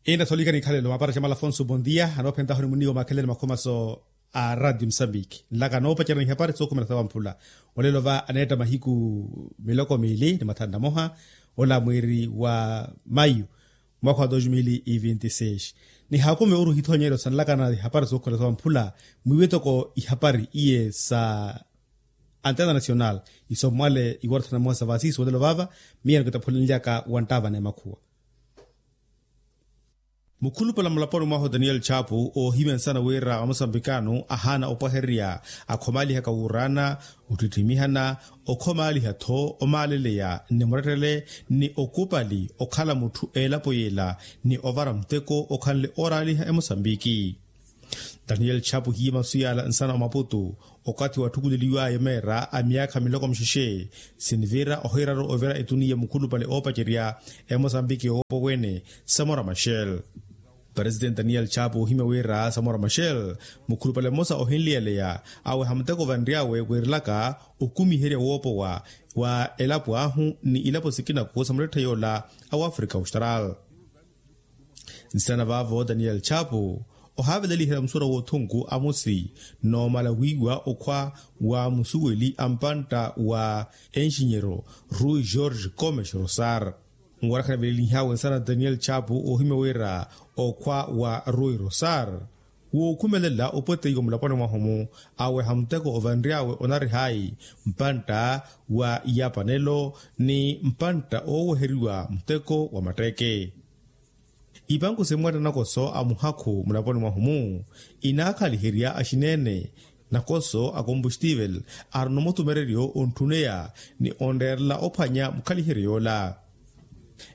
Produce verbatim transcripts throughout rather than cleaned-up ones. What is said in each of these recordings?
Inna solikani ikhalelo maapara xamala afonso bondia anoophentaho ni muniiwa maakhelele makhomaso a radio musambiki nlaka anoopacerya ni ihapari sookhumela sawamphula. Olelo va aneetta mahiku miloko miili ni mathanu na moha ola mwiiri wa mayu mwaakha wa dos mil e vinte e seis. Nihaakume oruhithoonyelo sanlakana ihapari sookhumela sawamphula mwiiwe toko ihapari iye sa antena nacional isommwale iwarathana mmosa sa vasiisi wolelo vaava. Miya nikitaphulenlyaka wanttaavana emakhuwa. Mukhulupale mulaponi mwahu daniel chapu oohimya nsana wira amosambikano ahaana opwahererya akhomalihaka wuuraana ottittimihana okhomaaliha-tho omaaleleya ni murettele ni okupali okhala mutthu elapo yeela ni ovara muteko okhanle ooraaliha emosambiki. Daniel chapu hiye masu yaala nsana omaputu okathi watthukuleliwaya omeera a myaakha miloko mixexe sinivira ohiiraru ovira etuniya mukhulupale oopacerya emosambiki owoopo wene samora machel. Presitenti daniel chapu ohimya wira samora machel mukhulupale mmosa ohinliyaleya aweha muteko vanry'awe wiirilaka okumiherya woopowa wa elapo ahu ni ilapo sikinaku sa muretthe yoola a wafrika austral. Nsana vaavo daniel chapu ohaaveleliherya musuwela w'othunku amosi noomala wiiwa okhwa wa musuweli a mpantta wa enxinyero rui george comes rosar. Nwarakha navelelihawe nsana daniel chapu oohimya wira okhwa wa rui rosar wookhumelela opweteiwa mulaponi mwahu-mu aweha muteko ovanry'awe onarihayi mpantta wa yapanelo ni mpantta ooweheriwa muteko wa matteeke. Ipanku simwatta nakoso a muhakhu mulaponi mwahu-mu inaakhaliherya axineene nakoso a kombustivel arina omutumereryo ontthuneya ni onreerela ophwanya mukhaliheryo yoola.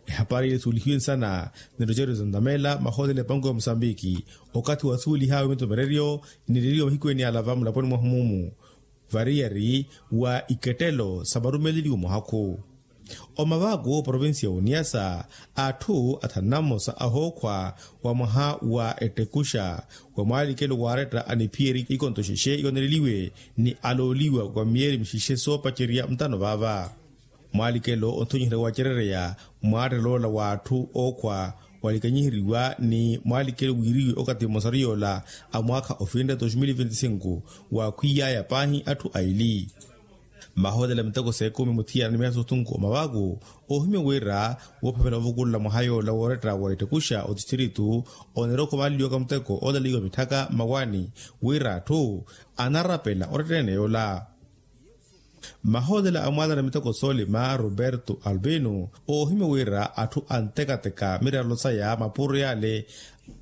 Ehapari ile suulihiwe nsana ni rogerio zantamela mahootela epanku ya musambiki okathi wasuwelih'awe mitumereryo nileliwa mahiku ene yaalava mulaponi mwahu-mu variyari wa ikettelo sa marumeleliwo muhakhu. Omavaaku provincia ya oniyasa atthu athanu na mmosa ahookhwa wa mwaha wa ettekuxa wa mwaalikelo waaretta aniphiyeri ikonto xexe yooneleliwe ni alooliwa wa miyeeri mixexe soopacerya ntano vaava. Mwaalikelo onthonyiherya wacerereya mwaattelo ola w'atthu ookhwa walikanyiheriwa ni mwaalikelo wiiriwe okathi mmosaru yoola a mwaakha ofinre dos mil vinti sinku waakhwiy'aya paahi atthu aili. Mahootela miteko s'ekumi muthiyana ni miya sothunku omavaaku oohimya wira woophavela ovukulela mwaha yoola wooretta wa ettekuxa otistritu oneera okhomaleliwaka muteko oolalaiwa mitthaka mmawaani wira atthu anarapela oretta eneene yoola. Mahootela a mwaalana miteko soolima roberto albino oohimya wira atthu antekateka mirerelo saya mapuro yale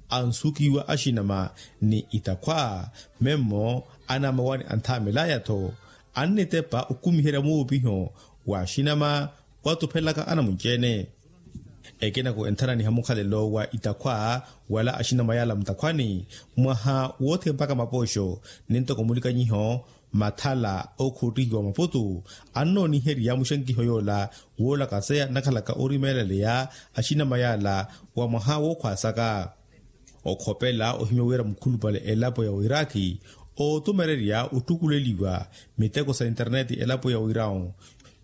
ansukiwa axinama ni itakhwa memmo anamawani anthaamelaya-tho annitepa okumiherya muupiho wa axinama watuphelaka anamunci-ene. Ekinako enthananiha mukhalelo wa itakhwa wala axinama yala mutakhwani mwaha wothempaka mapooxo nintoko mulikanyiho mathala ookhuuttihiwa maputu annooniherya muxenkiho yoola woolakaseya nnakhalaka orimeeleleya axinama yala wa mwaha wookhwaasaka. Okhopela ohimya wira mukhulupale elapo ya oiraki ootumererya otthukuleliwa miteko sa interneti elapo ya oirau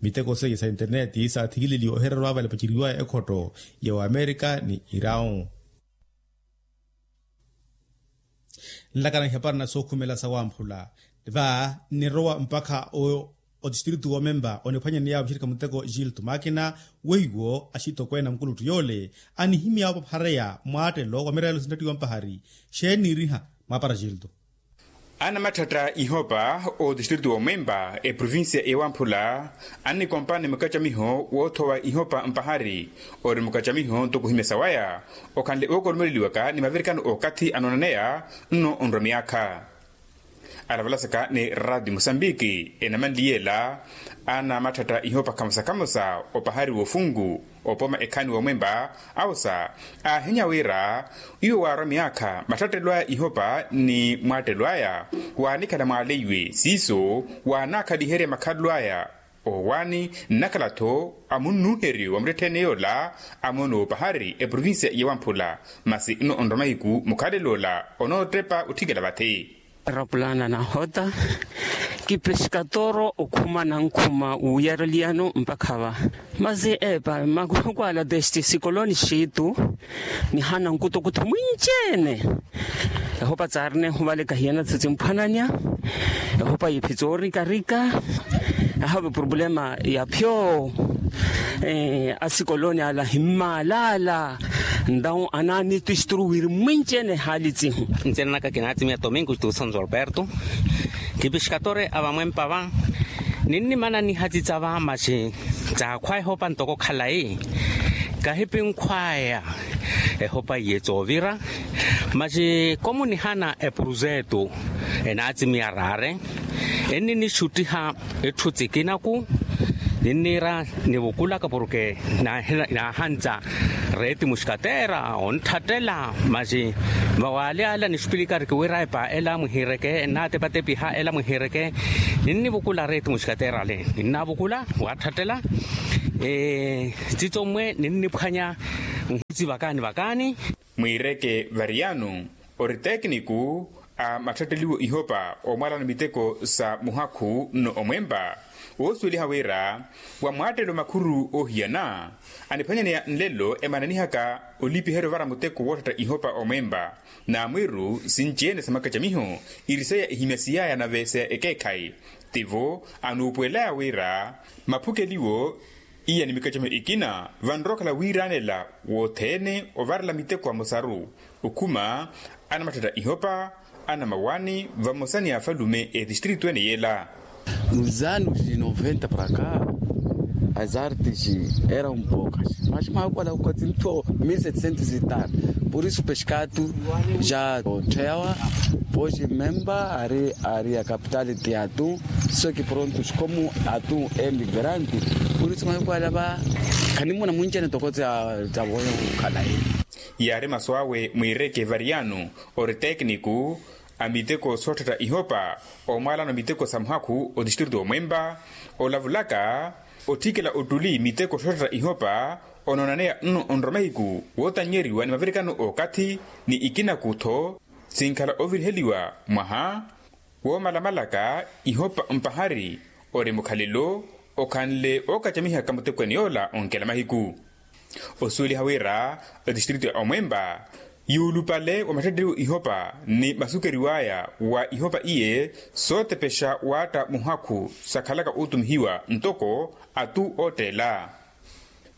miteko seiye sa interneti saathikileliwa ohererya ovavale paceriwaya ekhotto ya wamerika ni irau. Nlakana ihapari na sookhumela sawamphula va nnirowa mpakha oyo otistritu womempa oniphwanyaney'awe muxirikha muteko gilto makina weiwo axitokweene a mukuluttu yoole anihimy'awe opaphareya mwaattelo wa mireelo sinttattiwa mpahari xeeni niiriha mwaapara gilto. Anamatthetta ihopa otistritu womempa eprovincia ewamphula annikompani mukacamiho woothowa ihopa mpahari ori mukacamiho ntoko ohimya sawaya okhanle ookoromeleliwaka ni mavirikano okathi anoonaneya nno onrwa miyaakha. Alavalasaka ni radio musambiki enamanliyela anamatthetta ihopa khamosa khamosa opahari w'ofunku opoma ekhaani womwempa awosa aahenya wira iwo waarwa miyaakha mattattelwaya ihopa ni mwaattelwaya waanikhala mwaaleiwe siiso waanaakhaliherya makhalelwaya owaani nnakhala-tho amunnuuheryo wa muttettheene yoola amoona opahari eprovincia yewamphula masi nno onrwa mahiku mukhaleloola onoottepa otthikela vathi. Rapulana nahota. Kipeskatoro okhuma nankhuma wuyareliyano mpakha va. Masi epa makukwala testi sikoloni xitu. Nihana nkutukuthu mwinci-ene. Ehopa tsaarina ehuvale kahiyana tsitsimphwananya. Ehopa yiphitsa oorikarika. Ahave problema ya phyo. Asikoloni ala himmaalala. Ntawu anaani tisturu wiri mwinci-ene ehaali tsihu. Ntsina naka kinaatimiya tomingo xitu santo alberto. Kipixkatore a vamwempa va. Ninnimana nihatsitsa va maxi tsaakhwa ehopa ntoko khalayi. Kahipinkhwaya ehopa iye tsoovira. Maxi komunihana epurusetu enaatimiya raare. Enninixuttiha etthu tsikinaku. Ninniira nivukulaka porke naahantsa reeti muxkateera ontthattela. Maxi vawaali ala nixupilika arikiwira epa ela mwihiireke ennaatepatepiha ela mwihiireke. Ninnivukula reeti muxkateera ale ninnavukula waatthattela. Tsitsommwe ninniphwanya nhitsi vakaani vakaani. Mwiireke variyano ori tekiniku a matthatteliwo ihopa omwalano miteko sa muhakhu nno omwempa. Woosuweliha wira wa mwaattelo makhuru oohiyana aniphwanyaneya nlelo emananihaka olipiherya ovara muteko wootthatta ihopa omwempa. Naamwiru sinci-ene sa makacamiho iri seya ehimyasiyaya nave seya ekeekhayi. Tivo anuupuwelaya wira maphukeliwo iya ni mikacamiho ikina vanrowa okhala wiiraanela wothene ovarela miteko amosaru. Okhuma anamatthatta ihopa anamawani vamosa ni afalume etistritu ene yela. Nos anos de noventa para cá as artes eram poucas mas mahakwala kukatsinto mil setecentos e tal. Por isso pescado já othewa pois memba ari ari a capital de atum. Só que prontos como atum é migrante por isso mahakwala va. Khanimuna mwinci-ene toko tsa tsa voya kukhala ene. Yaari masu awe mwiireke variyano ori tekiniku a miteko sootthatta ihopa omwalano miteko sa muhakhu otistritu omwempa. Olavulaka otthikela ottuli miteko sootthatta ihopa onoonaneya nno onrwa mahiku wootannyeriwa ni mavirikano ookathi ni ikinaku-tho sinkhala oviriheliwa mwaha woomalamalaka ihopa mpahari ori mukhalelo okhanle ookacamihaka muteko ene yoola onkela mahiku. Osuweliha wira etistritu ya omwempa yuulupale wa matthatteliwo ihopa ni masukeriw'aya wa ihopa iye sootepexa waatta muhakhu sakhalaka ootumihiwa ntoko atu ootteela.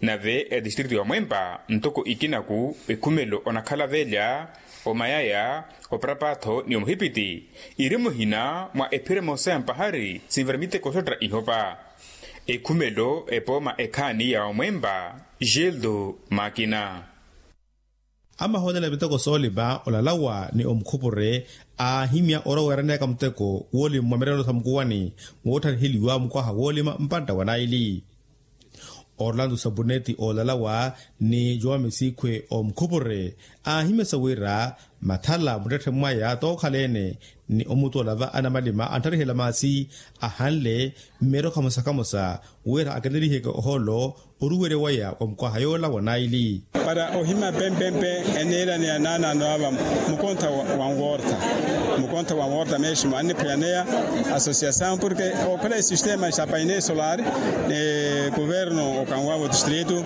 Nave etistritu ya omwempa ntoko ikinaku ekhumelo onakhala velya omayaya oparapatho ni omuhipiti iri muhina mwa ephira emosa ya mpahari sinvara miteko soottera ihopa. Ekhumelo epooma ekhaani ya omwempa. Gildo makina. Amahoonela miteko soolima olalawa ni omukhupure aahimya oroweeraneyaka muteko woolima mwa mirelo sa mukuwani woothariheliwa mukwaha woolima mpantta wa naili. Orlando sabuneti oolalawa ni joão misikhwe omukhupure aahimyasa wira mathala muttetthe mwaya tookhala-ene ni omutoola va anamalima antharihela maasi ahanle mmeeryo khamosa khamosa wira akeneliheke ohoolo oruwerya waya wa mukwaha yoola wa naili. Para ohima pempempe eniiraneya naanaano ava mukontha wa nwortha. Mukontha wa nwortha mesmo anniphwayaneya asosiasaw porke okhwela esistema sa paine solar ni kuverno okanwavo distritu.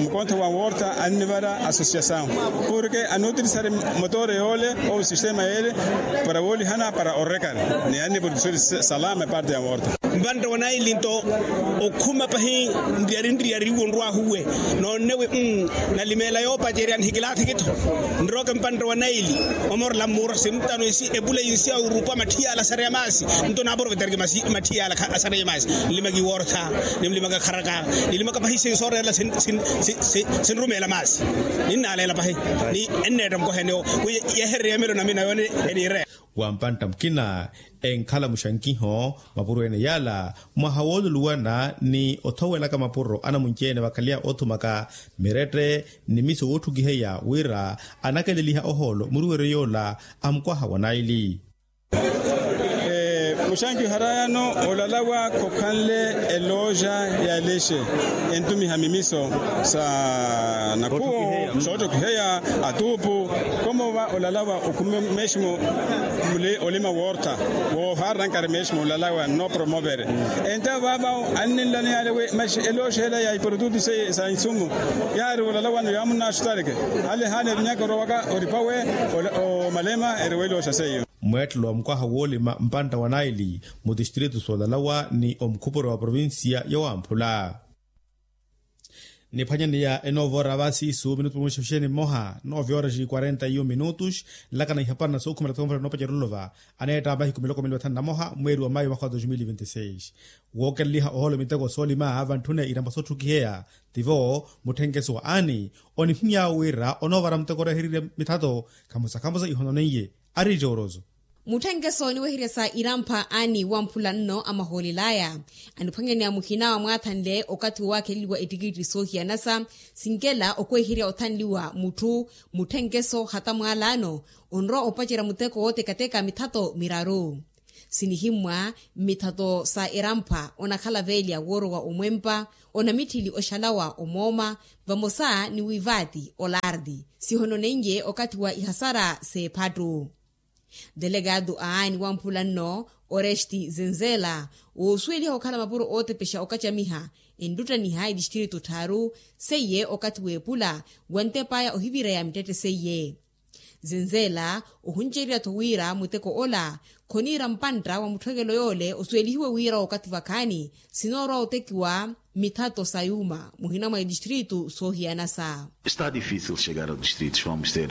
Mukontha wa nwortha annivara asosiasaw porke anuutirisari motore yoole ou sistema yeele para woolihana para orrekari ni annivorisori salama eparte ya nwortha. Mpantte wa naili nto okhuma pahi nriyari nriyari iwo nrwahuwe noonnewe. Nalimeela yoopacerya nihikilaathiki-tho nroke mpantte wa naili. Omorela mmuura sintano esi epula yinsi ya urupa matthiyala asareya maasi nto naaprovetariki matthiyala asareya maasi nlimaki wortha nimlimaka kharaka nilimaka pahi sinsoorerela sinrumeela maasi. Ninnaaleela pahi ni enneetta mukohene wi yehererya emelo namina yoone eniireya. Wa mpantta mukina enkhala muxankiho mapuro ene yaala mwaha wooluluwana ni othowelaka mapuro anamunci-ene vakhaleya oothumaka mirette ni miso wootthukiheya wira anakeleliha ohoolo muruweryo yoola a mukwaha wa naili. Xanki oharayano olalawa khokhanle elooxa ya lexe entumiha mimiso sa nakhuwo soottokiheya atuupu. Komova olalawa okhume meeximo muli olima woortha woohaaranankari meeximo olalawa nno promovere. Entawo vaavawo anninlaneyale wi maxi elooxela ya iprotutu seiye sa insumu yaari olalawano yaamunnaxutareke. Hale hale evinyaka orowaka oripawe omalema eriwelooxa seiyo. Mweettelo wa mukwaha woolima mpantta wa naili mu tistritu soolalawa ni omukhupuro wa provincia ya wamphula. Niphwanyaneya enoovora vasiisu minutu mumwexephexeni mmoha noove horas quarenta e um minutos. Nlakana ihapari na sookhumela thoomphera noopacerya ololova aneetta mahiku miloko mili vathanu na moha mweeri wa mayu mwakha wa dos mil vinti seis. Wookeleliha ohoolo miteko soolima vantthune irampa sootthukiheya tivo mutthenkeso wa ani onihimy'awe wira onoovara muteko oreherirye mithato khamosa khamosa ihononeiye. Ari jooroso. Mutthenkeso oniweherya sa irampha ani wamphula nno amahoolel'aya aniphwanyaneya muhina wa mwaathanle okathi wowakheleliwa ettikitti soohiyanasa sinkela okweherya othanliwa mutthu mutthenkeso hata mwaalano onrowa opacerya muteko wootekateka mithato miraru. Sinihimmwa mmithato sa irampha onakhala veelya woorowa omwempa onamitthili oxalawa omooma vamosa ni wivaati olardi sihononeiye okathi wa ihasara s'ephattu. Delegado a aani wamphula nno oresti zenzela woosuweliha okhala mapuro ootepexa okacamiha enluttaniha etistritu tthaaru seiye okathi w'epula wantep'aya ohivireya mittetthe seiye. Zenzela ohuncererya-tho wira muteko ola khoniira mpantta wa mutthwekelo yoole osuwelihiwe wira okathi vakhaani sinoorowa otekiwa mithato sa yuuma muhina mwa etistritu soohiyanasa. Está difícil chegar aos distritos vamos ser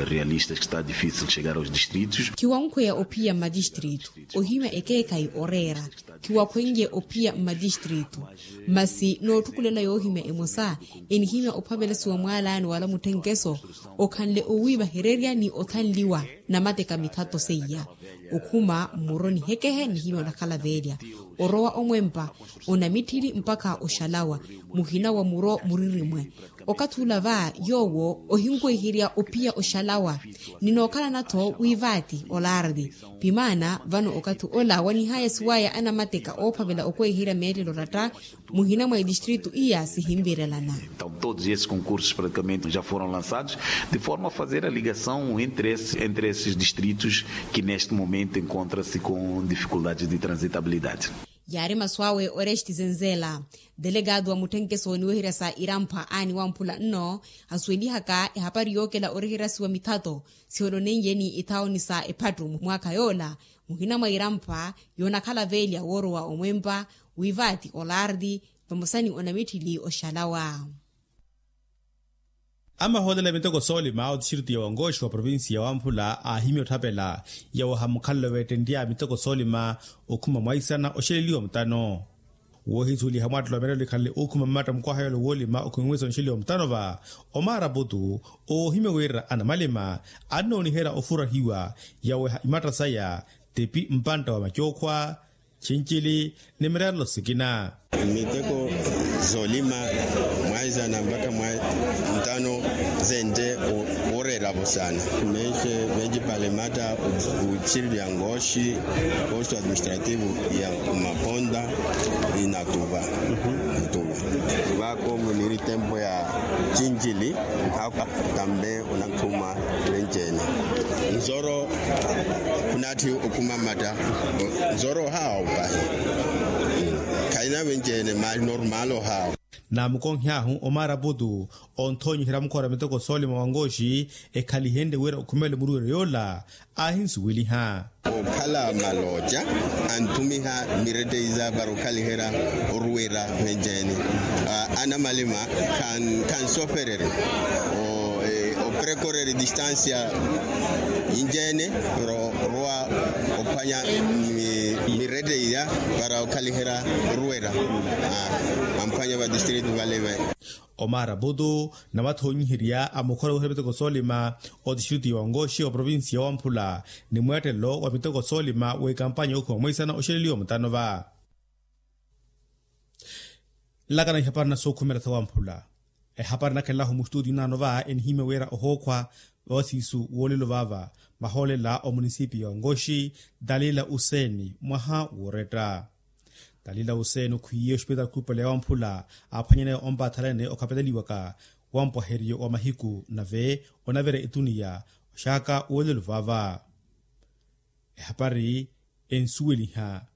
realistas que está difícil chegar aos distritos. Khiwankhweya ophiya mmatistritu ohimya ekeekhayi oreera. Khiwakhweiye ophiya mmatistritu masi nootthukulela yoohimya emosa enihimya ophavelasiwa mwaalani wala mutthenkeso okhanle owiivahererya ni othanliwa namateka mithato seiya. Okhuma mmuro nihekehe nihimya onakhala veelya orowa omwempa onamitthili mpakha oxalawa muhina wa muro muririmwe. Okathi ula va yoowo ohinkweiherya ophiya oxalawa ninookhalana-tho wiivaati olardi. Pimaana vano okathi ola wanihaya suwaya anamateka oophavela okweiherya meettelo oratta muhina mwa etistritu iya sihinvirelana. Todos esses concursos praticamente já foram lançados de forma a fazer a ligação entre esses distritos que neste momento encontra-se com dificuldades de transitabilidade. Yaari masu awe oresti zenzela. Delegado wa mutthenkeso oniweherya sa irampa aani wamphula nno asuwelihaka ehapari yookela oreheryasiwa mithato sihononeiye ni ithaoni sa ephattu mwaakha yoola muhina mwa irampa yoonakhala veelya woorowa omwempa wiivaati olardi vamosa ni onamitthili oxalawa. Amahoolela miteko soolima otistritu ya wangoxi wa provincia ya wamphula aahimya otthapela yawaha mukhalelo veettenrya miteko soolima okhuma mwaisana oxeleliwa mutano. Woohisuweliha mwattelo wa mirelo ikhanle ookhuma mmatta mukwaha yoole woolima okhuma mwaisana oxeleliwa mutano va omaaraputu oohimya wira anamalima annooniherya ofurahiwa yaweha imatta saya tipi mpantta wa macookhwa chincili ni mireerelo sikina. Miteko zoolima mwaisana mpakha mwa ntano zente woreeravo sana. Menxe vencipale matta utsiriliya ngoxi posto administrativo ya umaponta inatuva. Vako muniri tempo ya cincili nhaku tambe unakhuma vencene nzoro. Khunatthi okhuma matta nzoro ohawa opahi. Khaina vencene mali normal ohawa. Naamukonhy'ahu omaaraputu onthoonyiherya mukhora miteko soolima wa ngoxi ekhalihenrye wira okhumele muruweryo yoola aahinsuweliha. Okhala malooca anthumiha mireteiza para okhaliherya oruwera venceene. Anamalima khansofererya oprekorerya distansia inceene para orowa ophwanya mireteiya para okhaliherya oruwera amphwanya vatistritu vale. Omaaraputu navathoonyiherya a mukhora wiherya miteko soolima otistritu ya wangoxi wa provincia ya wamphula ni mweettelelo wa miteko soolima w'ekampanya yookhuma mwaisana oxeleliwa mutano va. Nlakana ihapari na sookhumela sa wamphula ehapari nakhelahu mustuti naano va enihimya wira ohookhwa Vawasiisu woolelo vaava mahoolela omunisipiyo ya onkoxi, talila useeni mwaha wooretta. Talila useeni okhwiiye oxipitaali khulupale ya wamphula aaphwanyaneya ompaathalani okhapeleliwaka wampwaheriyo wa mahiku nave onavirya etuniya oxaaka woolelo vaava. Ehapari ensuweliha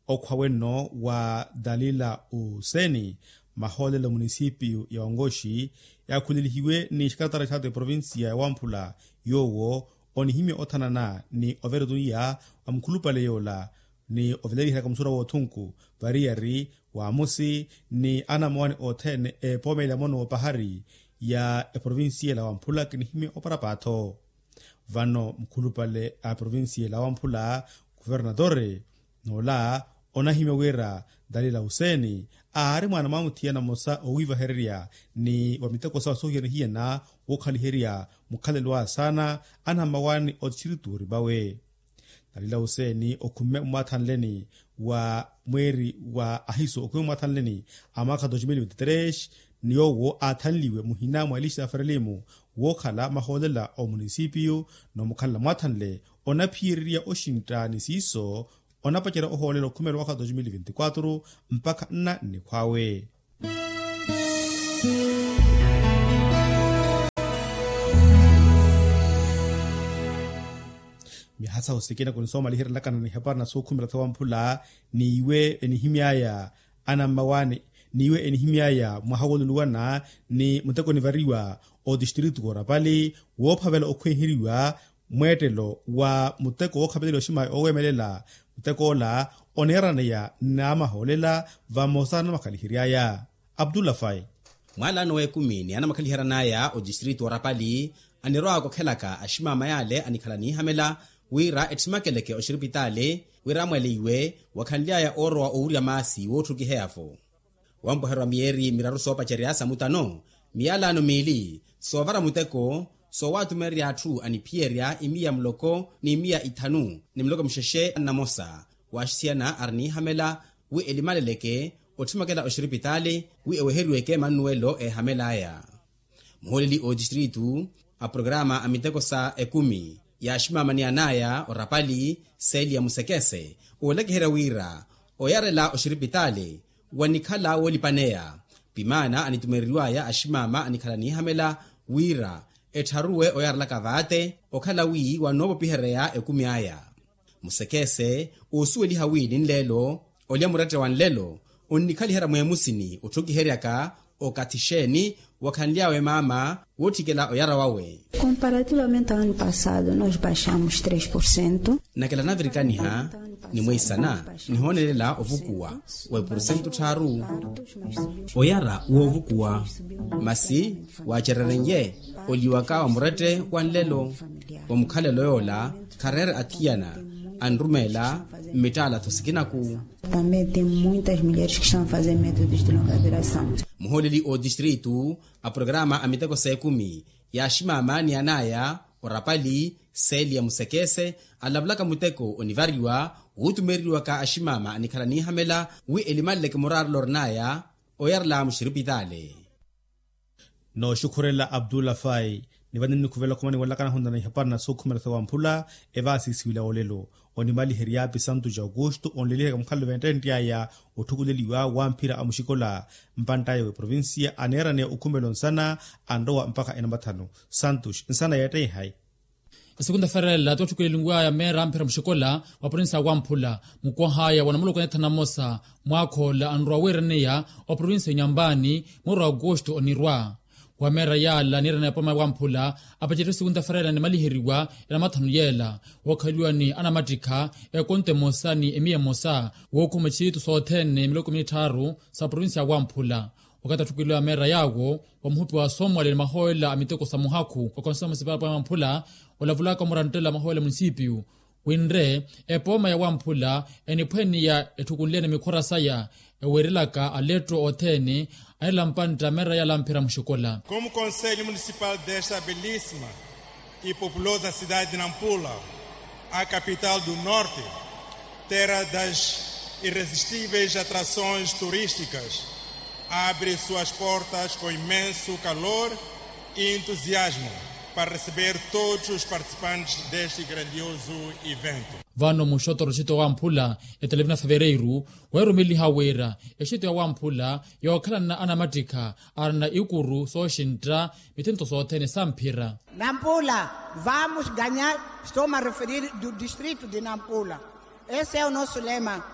okhwa wenno wa talila useeni mahoolela omunisipiyu ya onkoxi yaakhulelihiwe ni xakatara xaata eprovincia ya wamphula, yoowo onihimya othanana ni ovira etuniya wa mukhulupale yoola ni oveleliheraka musurwa woothunku variyari waamusi ni anamowani othene epoomela mono wopahari ya eprovincia ela wamphula kinihimya oparapaatho. Vano mukhulupale a provincia ela wamphula kuvernatore noola onahimya wira talila useeni aari mwaana mwa muthiyana mmosa owiivahererya ni wa miteko sawa soohiyana-hiyana wookhaliherya mukhalelo aya saana anammawaani otistrito oripawe. Talila useeni okhumme mmwathanleni wa mweeri wa ahiso okhumme mmwathanleni a mwaakha dos mil vinti tres ni yoowo aathanliwe muhina mwa elista ya ferelimu wookhala mahoolela omunisipiyu n'omukhalela mwathanle onaphiyererya oxintta ni siiso onapacerya ohoolela okhumeela mwaakha dos mil vinti kwatru mpakha nna nnikhw'awe. Myaha sahu sikina kunisoomaliherelakana ni hapari na sookhumela sawamphula n'iwe enihimy'aya anammawaani n'iwe enihimy'aya mwaha wooluluwana ni muteko onivariwa otistrito w'orapali woophavela okhweeheriwa mweettelo wa muteko wookhapeleliwa oximaya oowemelela. Muteko ola oneeraneya n'amahoolela vamosa n'amakhalihery'aya. Abdullah fai. Mwalaano w'ekumi ni anamakhaliheran'aya otistrito w'orapali anirwaaka okhelaka aximama yale anikhala niihamela wira etthimakeleke oxiripitaali wira amwaleiwe wakhanly'aya oorowa owurya maasi wootthukiheya-vo. Wampwehererya miyeeri miraru soopacerya sa mutano miyalaano miili soovara muteko soowatumererya atthu aniphiyerya imiya muloko ni imiya ithanu ni muloko muxexe nnamosa. Waaxisiyana ari niihamela wi elimaleleke otthimakela oxiripitaali wi eweheriweke mannuwelo eehamel'aya. Muhooleli otistritu a programa a miteko sa ekumi ya aximama ni an'aya orapali seli ya musekese oolekeherya wira oyarela oxiripitaali wanikhala woolipaneya pimaana anitumereriw'aya aximama anikhala niihamela wira ettharuwe oyarelaka vaate okhala wi wanoopopihereya ekumi aya. Musekese oosuweliha wi ninleelo olya murette wa nlelo onnikhaliherya mweemusini otthukiheryaka okathi xeeni wakhanly'awe maama wootthikela oyara wawe. Comparativamente ao ano passado nos baixamos três por cento. Nakela navirikaniha ni mweisana nihoonelela ovukuwa wa epurusentu tthaaru. Oyara woovukuwa masi waacereren'ye oliwaka wa murette wa nlelo wa mukhalelo yoola khareere athiyana anrumeela mmittaala-tho sikinaku. Também tem muitas mulheres que estão a fazer métodos de longa duração. Muhooleli otistritu a programa a miteko s'ekumi ya aximama ni an'aya orapali seli ya musekese alavulaka muteko onivariwa wuutumereriwaka aximama anikhala niihamela wi elimaleleke muraarelo orin'aya oyarela muxiripitaali. Nooxukhurela abdullah fai ni vani nnikhuvela okhumaniwelaka nahunana ihapari na sookhumela sawamphula evaasiisiwila olelo onimaliherya pisantu ja aukustu onleliherya mukhalelo venttentt'aya otthukuleliwa wamphira a muxikola mpantt'aya w'eprovincia aneeraneya okhumela onsana anrowa mpakha enamathanu. Santu nsana yeetteihayi. Esekunta fereela tootthukulelinwaya meera amphira muxikola wa provincia ya wamphula mukwah'aya wa namuloko neethanu na mmosa mwaakhoola anrowa wiiraneya wa provincia ya nyambani mweri wa aukustu onirwa wa meera yaala niiraneya poma ya wamphula apacerya esekunta fereela nimaliheriwa ya namathanu yeela wookhaliwa ni anamattikha ekonto emosa ni emiya emosa wookhuma xiitu sothene miloko mitthaaru sa provincia ya wamphula. Wakathi atthukweliwa meera yaawo wa muhupi wa soomwali ni mahoolela a miteko sa muhakhu wa konsomo sipapa ya wamphula olavulaka omurantela mahoolela munisipiyu winre epooma ya wamphula eniphweniya etthukunlyene mikhora saya eweerelaka aletto othene anela mpantta meera yaalamphira muxikola. Como conselho municipal desta belíssima e populosa cidade de Nampula, a capital do norte, terra das irresistíveis atrações turísticas, abre suas portas com imenso calor e entusiasmo. Para receber todos os participantes deste grandioso evento. Vano muxotoro exito ya wamphula, etelevina fevereiru, weerumeliha wira exito ya wamphula yookhalana anamattikha arina ikuru sooxintta, mithinto sothene samphira. Nampula, vamos ganhar. Estou-me a referir do distrito de Nampula. Esse é o nosso lema,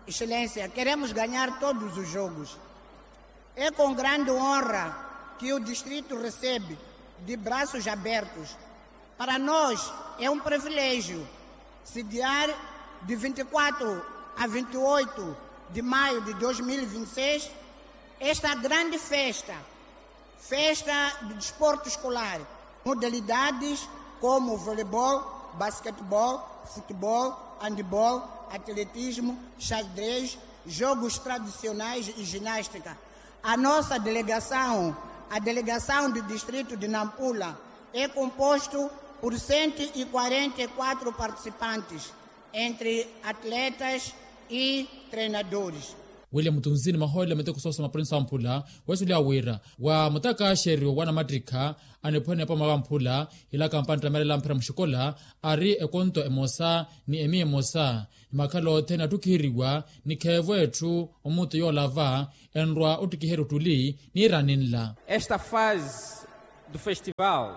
excelência, queremos ganhar todos os jogos. É com grande honra que o distrito recebe de braços abertos. Para nós é um privilégio sediar de vinte e quatro a vinte e oito de maio de dois mil e vinte e seis esta grande festa, festa do desporto escolar, modalidades como voleibol, basquetebol, futebol, handebol, atletismo, xadrez, jogos tradicionais e ginástica. A nossa delegação, a delegação do distrito de Nampula, é composto por cento e quarenta e quatro participantes, entre atletas e treinadores. William Tunzini, mahoolela miteko soosoma provinsi ya wamphula, weesuliwa wira wa mutakaxeryo wa namattikha aniphwene epoma ya wamphula, ilaka mpantta meerela amphira muxikola, ari ekonto emosa ni emiya emosa. Ni makhala othene attukiheriwa ni kheevo etthu omuutu yoolava enrwa ottikiherya ottuli niiraninla. Esta fase do festival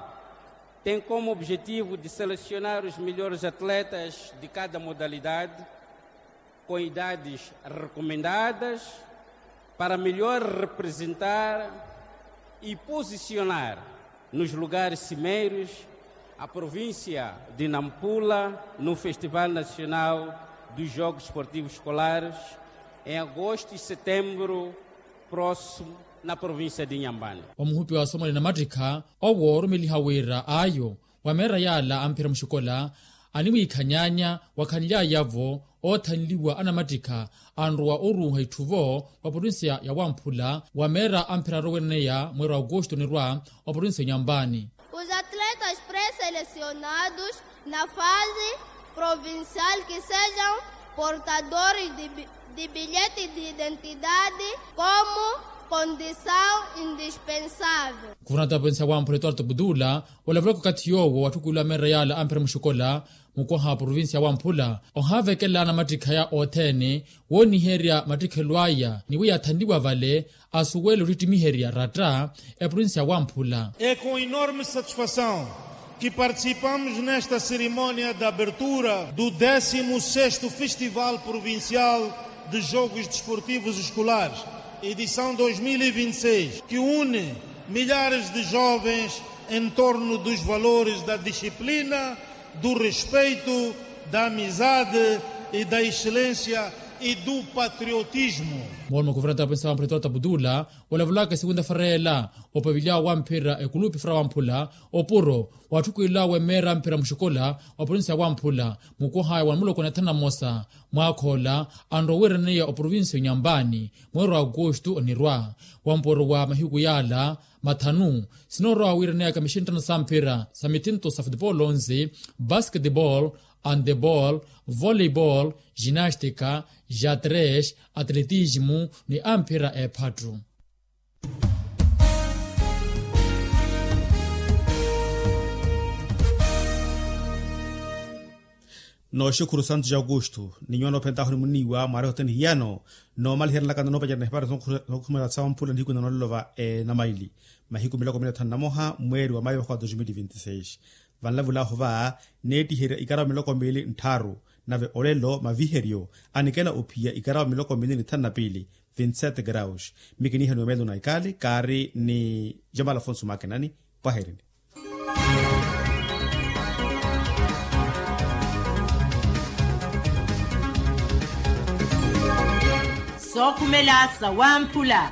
tem como objetivo de selecionar os melhores atletas de cada modalidade com idades recomendadas para melhor representar e posicionar nos lugares cimeiros a província de Nampula no Festival Nacional dos Jogos Esportivos Escolares em agosto e setembro próximo na província de Inhambane. Omuhupi wa somo ni namattikha owo orumeliha wira ayo wa meera yaala amphira muxikola animwiikhanyaanya wakhanly'aya-vo oothanliwa anamattikha anrowa oruuha itthu-vo wa provinsiya ya wamphula wa meera amphira aroweneya mweeri wa aukusto onirwa wa provinsiya ya onyampaani. Os atletas pré-selecionados na fase provincial que sejam portadores de bilhete de identidade como condição indispensável. Kuvernata wa provinsiya ya wamphula etuarto putula olavulaka okathi yoowo watthukuliwa meera yaala amphira muxikola mukwaha wa provinsiya ya wamphula ohaavekela anamattikha aya othene wooniherya mattikhelo aya ni wi yaathanliwa vale asuwele ottittimiherya ratta eprovinsiya ya wamphula. É com enorme satisfação que participamos nesta cerimónia de abertura do décimo sexto Festival Provincial de Jogos Desportivos Escolares, edição dois mil e vinte e seis, que une milhares de jovens em torno dos valores da disciplina, do respeito, da amizade e da excelência e do patriotismo. Mooloma kuvernata wa provinsiya wa wamphula etuarto putula olavulaka esegunta-feira ela opaviliya wamphira ekulupi feira wamphula opuro watthukuliwa wa meera amphira muxikola wa provinsiya ya wamphula mukwaha aya wa muloko na ithanu na mmosa mwaakha ola anrowa owiiraneya oprovinsiya ya onyampaani mweeri wa aukustu onirwa wampuro wa mahiku yaala mathanu sinoorowa wiiraneyaka mixinttano samphira sa mithinto sa futepolo onse basketebol handebol voleibol ginastika xadrez atletismu ni amphira eephattu. Nooxukhuru santos aukustu ni nyuwa noophentahu ni muniiwa mwaari hothene hiyano noomaliherelaka nnoopacana na hipara sookhumela sa wamphula nihiku nanoolelo va enamaili mahiku miloko mili na thanu na moha mweeri wa mayo vakhwa dos mil e vinte e seis. Vanlavulaahu va neettiherya ikarawa miloko miili nttharu nave olelo maviheryo anikela ophiya ikarawa miloko miili ni thanu na piili. Vincent graus mi kiniihaniwa meelo na ikali kaari ni jamal afonso makinani. Pwaherini. Sookhumela sa wamphula.